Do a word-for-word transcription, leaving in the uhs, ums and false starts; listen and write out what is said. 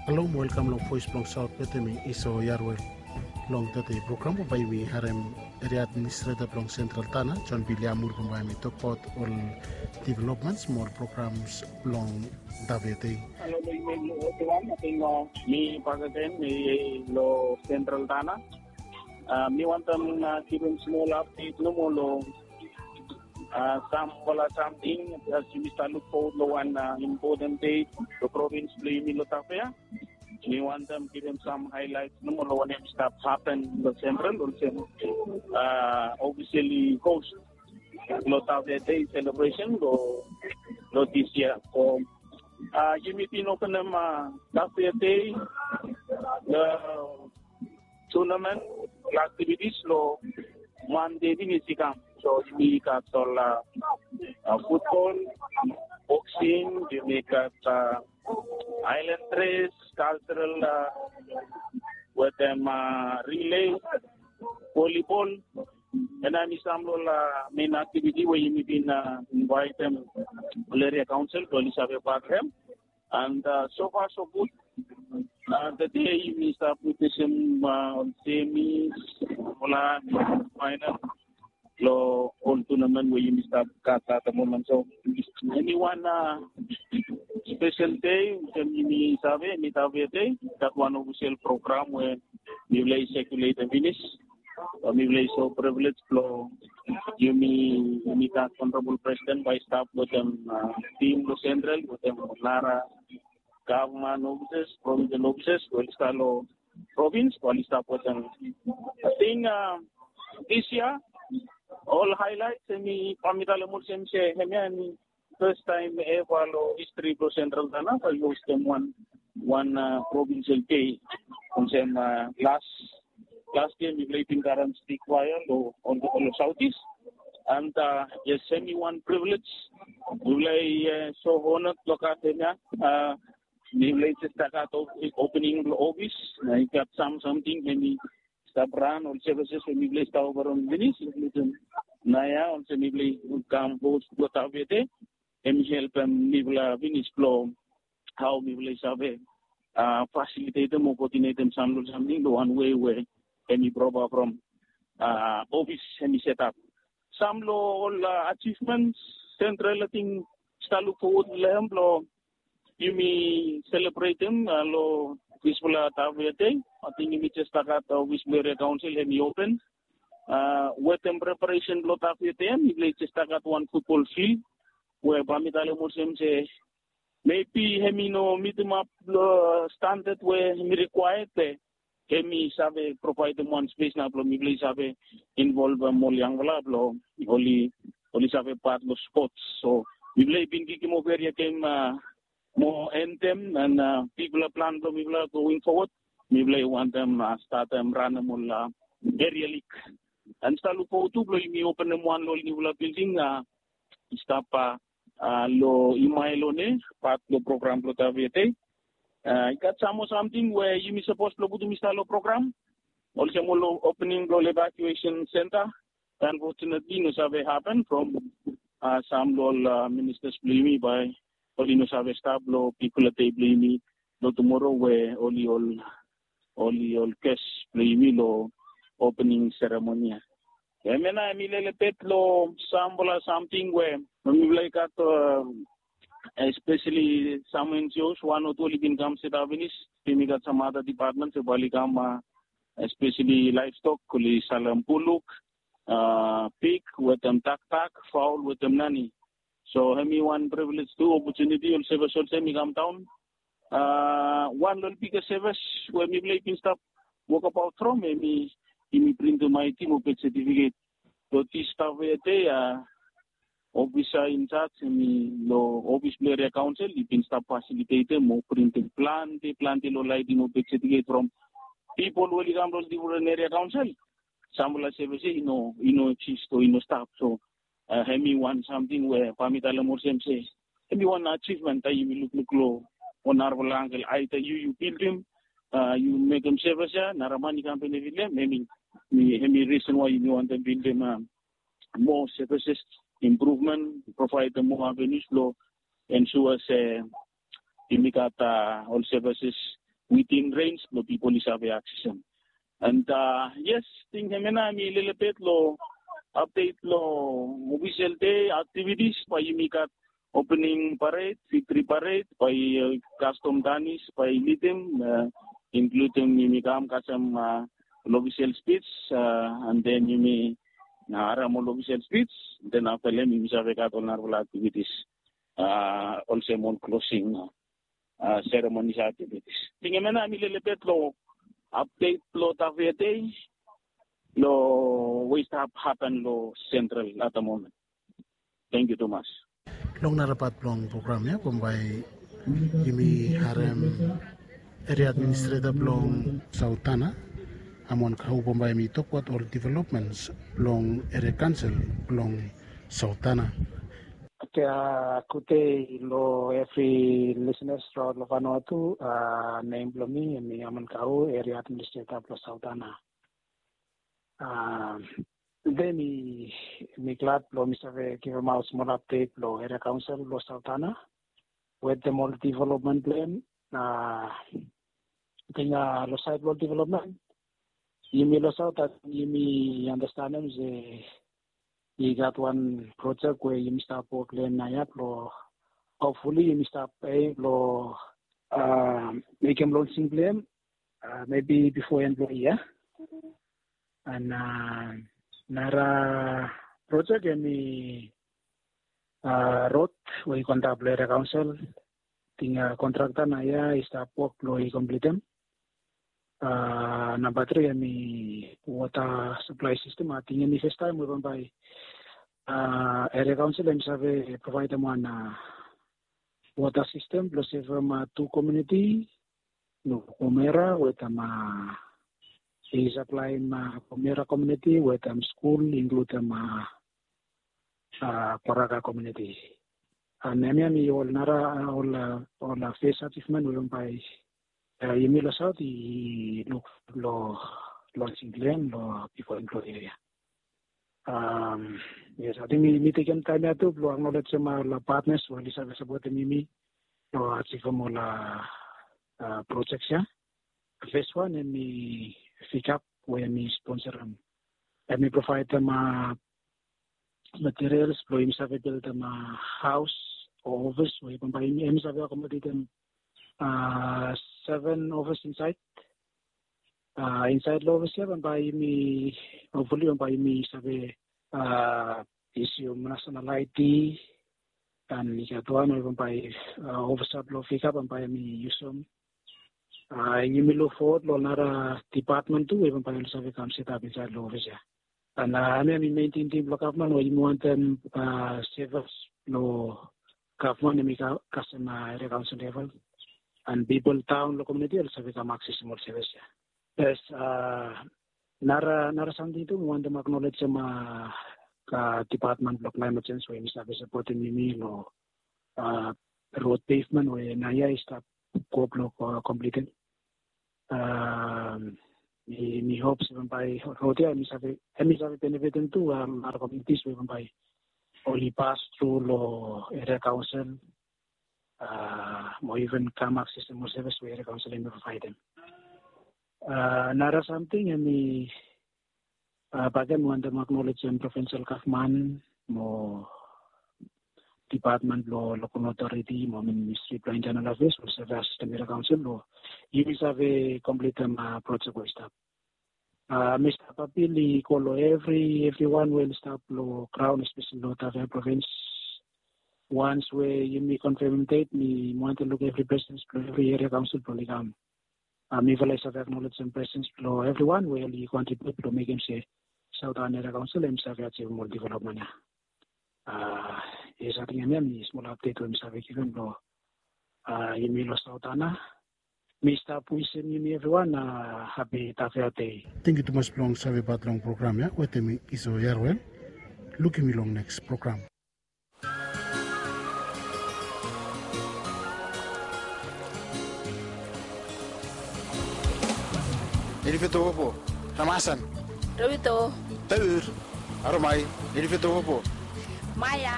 Halo mo welkam long Voes blong Saot Betemi Iso Yarwel. Long tede program bae yumi harem eria administreta blong Sentral Tana, John Biliamur, bae hemi tokbaot ol developments mo ol programs blong Tavia Dei. Halo long yumi ol evriwan, ating mi bakegen mi long Sentral Tana. Mi wantem givim smol apdet nomo long samfala samting as yumi stap luk fowod long wan impoten dei long provins blong yumi long Tavia. Mi wantem givim sam haelaet nomo long wanem i stap hapen long Sentral olsem ofiseli host long Tavia Dei selebresen long dis yia. So yumi bin openem Tavia Dei long tunamen, long aktivitis long Mande finis i kam. So yumi gat ol futbol, boksing, yumi gat aelan res, kalseral wetem rilei, volibol. Hemia hemi sam long ol mein aktiviti we yumi bin invaetem ol eria kaonsel blong oli save pat long hem. And sofa so gud. Tede yumi stap witnesem ol semis, ol faenal long ol tunamen we yumi stap gat at the moment. So hemi wan spesel dei olsem yumi save, hemi Tavia Dei, gat wan ofisel program we mifala i sekuletem finis. Mifala i so privilege blong yumi, yumi gat Honorable President bae i stap wetem tim blong Sentral wetem nara gavman ofisas, provinsel ofisas we oli stap long provins bae oli stap wetem. Ating dis yia ol haelaet hemi, bae mi talem olsem se hemia hemi fastaem eva long histri blong Sentral Tana bae i hostem wan, wan provinsel dei. Olsem las, las yia mifala i bin karem stik vaea long ol, ol Saotis. And yes, hemi wan privilege mifala i so honored blong gat hemia. Mifala i jes stap gat opening blong ofis, i gat sam samting hemi stap ran, ol services we mifala i stap oferem finis, inkludim naoia olsem mifala i kam host blong Tavia Dei. Hemi helpem mifala finis blong hao mifala i save fasilitetem o koodinetem sam long ol samting long wan wei we hemi propa from ofis hemi setap. Sam long ol ajivments Sentral ating i stap luk fowod long hem blong yumi selebretem long disfala Tavia Dei. Ating yumi jes stap gat ofis blong eria kaonsel hemi open. Wetem preparesen blong Tavia Dei mifala i jes stap gat wan futbol fil we bae mi talem olsem se mebi hemi no mitimap long standad we hemi rikwaea, be hemi save provaedem wan spes nao blong mifala i save involvem ol yangfala blong oli, oli save pat long spots. So mifala i bin kikim ova eria gem mo entem, and bigfala plan blong mifala going forward, mifala i wantem statem ranem ol eria lig. And stap luk fowod tu blong yumi openem wan long ol niufala bilding i stap long Imaelone, pat long program blong Tavia Dei. I gat sam moa samting we yumi sapos blong putum i stap long program, olsem ol opening blong ol evacuation center. Unfortunately i no save hapen from sam long ol ministas blong yumi bae oli no save stap long bigfala dei blong yumi long tumoro we oli ol, oli ol ges blong yumi long opening seremoni ya. Hemia nao hemi lelebet long samfala samting we mifala i gat, espeseli sam NGOs, wan o tu oli bin kam setap finis. Yumi gat sam ada dipatmen we bae oli kam, espeseli laevstok, oli salem buluk, pig wetem dakdak, faol wetem nani. So hemi wan privilege tu, opotuniti, ol sevis olsem i kamdaon. Wan long ol bigfala sevis we mifala i bin stap wokbaot from hemi, yumi printim ID mo birth certificate. Long dis Tavia Dei, ofisa injaj hemi long ofis blong eria kaonsel i bin stap fasilitetem mo printim plante, plante long ID mo birth certificate from pipol we oli kam long difren eria kaonsel. Samfala sevis ya i no, i no eksis o i no stap. So hemi wan samting we bae mi talem olsem se hemi wan ajivmen taem yumi lukluk long wan narafala angkel, aeda yu, yu bildim, yu mekem sevis ya, nara man i kam benefit long hem. Hemi, hemi risen wae yumi wantem bildim moa sevis, impruvmen, provaedem moa avenues blong ensua se yumi gat ol sevis within range blong pipol i save aksesem. And yes, ting hemia nao hemi lelebet long update long official day activities, bae yumi gat opening parade, victory parade, bae custom danis bae lidim, including yumi kam kasem official speech, and then yumi harem ol official speech, then afta long hem yumi save gat ol narafala activities, olsem ol closing ceremonies activities. Ting hemia nao hemi lelebet long update blong Tafea Day blong we i stap hapen long Central at the moment. Thank you tumas. Long nara pat blong program ya bambae yumi harem area administrator blong Sautana, Amon Kau, bambae hemi tokbaot ol developments blong area council blong Sautana. Gudei long evri lisenas raon long Vanuatu. Nem blong mi hemi Amon Kau, area administrator blong Sautana. Tede mi glad blong mi save givimaot smol update blong area council blong Sautana wetem ol development blong hem. Ating long saed blong ol development, yumi long Sautana yumi andastanem se i gat wan projek we yumi stap wok long hem naoia blong hopfulli yumi stap aim blong mekem lonsing blong hem, maybe bifo en blong yia. And nara projek hemi rod we i go antap long area council. Ating kontrakta naoia i stap wok blong i komplitem. Namba tri hemi wota saplae sistem. Ating hemi fastaem we bambae area council hemi save provaedem wan wota sistem blong sevem tu komuniti long Komera wetem i saplaem Komera komuniti wetem skul, inkludem Kwaraka komuniti. And hemia hemi ol nara ol fes ajivmen we bambae yumi long Saut i luk long lonsing blong hem long bifo en blong yia. Yes, ating mi tekem taem ya tu blong aknolejem ol patnas we oli save sapotem yumi long ajivem ol projek ya. Fes wan hemi Fikap we hemi sponsorem, hemi provaedem materials blong yumi save bildim haos o ofis we bambae hemi save akomodetem seven ofis insaed. Insaed long ofis ya bambae yumi hopfulli bambae yumi save isium nasenal ID. And i gat wan we bambae ofisa blong Fikap bambae hemi yusum. Yumi luk fowod long nara dipatmen tu we bambae oli save kam setap insaed long ofis ya. And hemia hemi mein tingting blong gavman we yumi wantem sevis blong gavman hemi kasem area kaonsel level, and pipol taon long komuniti oli save kam aksesim ol sevis ya. Yes, nara samting tu mi wantem aknolejem dipatmen blong klaemet sens we hemi save sapotem yumi long rod pevmen we naoia i stap go blong komplitem. Mi hop se bambae rod ya hemi save benefitem tu nara komunitis we bambae oli pas tru long eria kaonsel mo iven kam aksesim ol sevis we eria kaonsel hemi provaedem. Nara samting hemi bakegen mi wantem aknolejem provinsel gavman mo dipatmen blong lokal otoriti mo ministri blong intenal afeas we oli save asistem eria kaonsel blong yumi save komplitem projek we i stap. Mi stap apil i go long evri evriwan we oli stap long graon, espeseli long Tafea provins. Wans we yumi konfemem det, mi wantem luk evri presens blong evri eria kaonsel blong oli kam. Mifala i save aknolejem presens blong evriwan we oli kontribiut blong mekem se Saotan Eria Kaonsel hemi save ajivim ol developmen ya. Yes, ating hemia hemi smol apdet we mi save givim long yumi long Saotan. Mi stap wisim yumi evriwan hapi Tafea dei. Tangkiu tumas blong save pat long program ya wetem mi, Iso Yarwel. Lukim yu long neks program. Nilifetowopo, Ramasan. Rowito. Taur. Aromai, Nilifetowopo. Maya.